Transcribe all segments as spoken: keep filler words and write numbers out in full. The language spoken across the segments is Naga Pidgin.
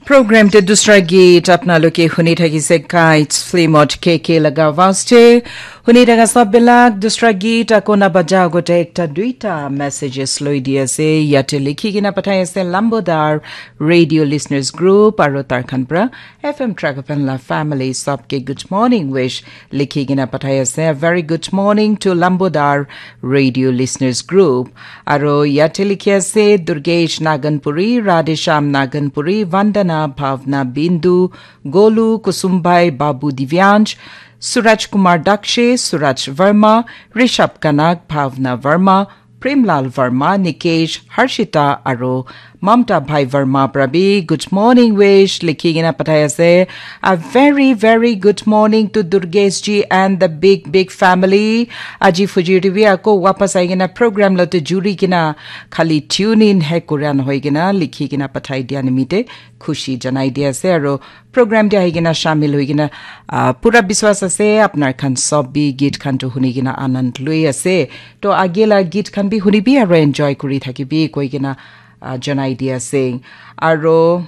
Program te dusra geet apna loke huni thakise Kites film ot K K laga awaaz te. Huni thaka sab bilak dusra geet ako na baja agote ekta duita messages loi di ase. Yate likhi kena pathai ase Lambodar Radio Listeners Group aro tar khan pra F M Tragapan la family sab ke good morning wish likhi kena pathai ase. A very good morning to Lambodar Radio Listeners Group. Aro yate likhi ase Durgesh Naganpuri, Radhesham Naganpuri, Vandana Bhavna Bindu, Golu Kusumbai Babu Divyansh, Suraj Kumar Dakshe, Suraj Verma, Rishabh Kanak, Bhavna Verma, Premlal Verma, Nikesh, Harshita aro Mamta Bhai Verma pra bi good morning wish likhi kena pathai ase. A very very good morning to Durgesh ji and the big big family. Aji fujir te bi ako wapas ai kena program lo te juri kena khali tune in he kuria nohoi kena likhi kena pathai dia nimite khushi janai di ase aro program te ahi kena shamil hoi kena, ah, pura biswas ase apnar khan sob bi geet khan to huni kena anand loi ase. To age la geet khan bi huni bi aro enjoy kuri thaki bi koi kena, ah, janai di ase. Aro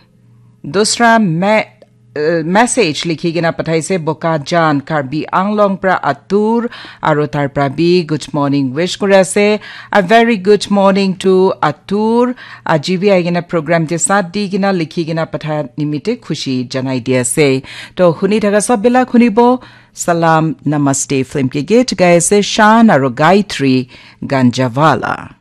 dusra me uh, message likhi kena pathaise Bokajan Karbi Anglong pra Atur aro tar pra bi good morning wish kuri ase. A very good morning to Atur. Aji bi ai kena program te saath di kena likhi kena patha nimite khushi janai di ase. To huni thaka sab bilak hunibo. Salam Namaste film ke geet gai ase Shan aro Gayatri Ganjawala.